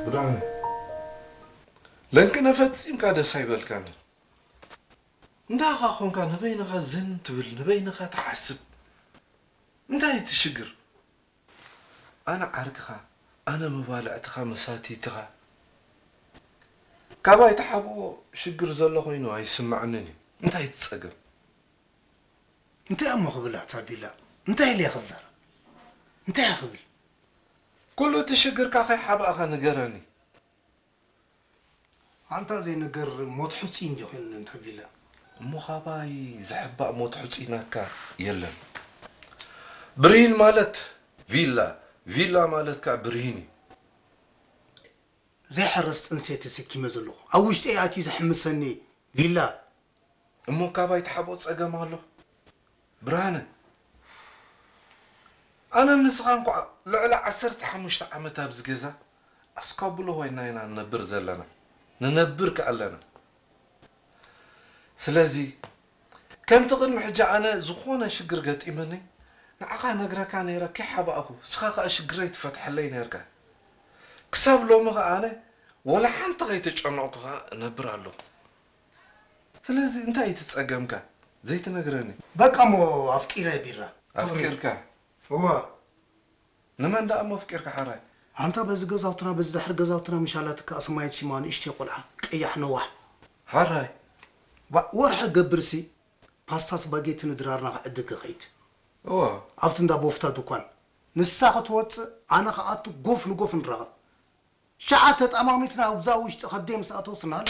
ብርሃነ፣ ለንቅነ ፈጺምካ ደስ ኣይበልካን። እንዳኻ ኾንካ ንበይንኻ ዝን ትብል፣ ንበይንኻ ትሓስብ። እንታይ እቲ ሽግር? ኣነ ዓርክኻ፣ ኣነ መባልዕትኻ፣ መሳትይትኻ። ካባይ ትሓብኦ ሽግር ዘሎ ኮይኑ ኣይስምዓንን እዩ። እንታይ እቲ ጸገም? እንታይ እሞ ክብል ኣታ ቢላ? እንታይ ኢለ ክዛረብ? እንታይ እያ ክብል? ኩሉ እቲ ሽግርካ ከይሓባእኻ ንገረኒ። ኣንታ ዘይነገር ሞት ሕጹይ እንዲ ኮይኑ እንተ ቢላ። እሞ ካባይ ዝሕባእ ሞት ሕጹይ ናትካ የለን። ብርሂን ማለት ቪላ፣ ቪላ ማለት ከኣ ብርሂን እዩ። ዘይሕረስ ጥንሲ ተሰኪመ ዘለኹ። ኣብ ውሽጠይ ኣትዩ ዘሕምሰኒ ቪላ። እሞ ካባይ ትሓብኦ ጸገም ኣሎ? ብርሃነ፣ ኣነ ንስኻ እንኳዕ ልዕሊ ዓሰርተ ሓሙሽተ ዓመት ኣብዚ ገዛ ኣስካብሎ ኮይና ኢና ንነብር ዘለና። ንነብር ከ ኣለና። ስለዚ፣ ከምቲ ቅድሚ ሕጂ ኣነ ዝኾነ ሽግር ገጢመኒ፣ ንዓኻ ነግረካ ነይረ፣ ከይሓባእኹ፣ ንስኻ ከኣ ሽግረይ ትፈትሐለይ ነይርካ። ክሳብ ሎሚ ከኣ ኣነ ወላ ሓንቲ ከይተጨነቕኩ ከኣ እነብር ኣለኹ። ስለዚ፣ እንታይ እዩ እቲ ጸገምካ? ዘይትነግረኒ? በቃ እሞ ኣፍቂረ ቢራ። ኣፍቂርካ? እወ። ንመን ደኣ እሞ ኣፍቂርካ ሓራይ? ኣንታ በዚ ገዛውትና፣ በዚ ድሕሪ ገዛውትና ምሻላትካ ኣስማይት ሽማ ንእሽተይ ቆልዓ፣ ቀያሕ ነዋሕ። ሓራይ? ባ-፣ ወርሒ ገብርሲ ፓስታ ስፓጌቲ ንድራርና ክዕድግ ክኸይድ። እወ። ኣብቲ እንዳ ቦፍታ ድኳን። ንሳ ክትወጽእ፣ ኣነ ክኣቱ ጎፍ ንጎፍ ንራኸብ። ሸዓ ተጠማሚትና ኣብዛ ውሽጢ ከብደይ ምስ ኣተወስ እናሃለፈ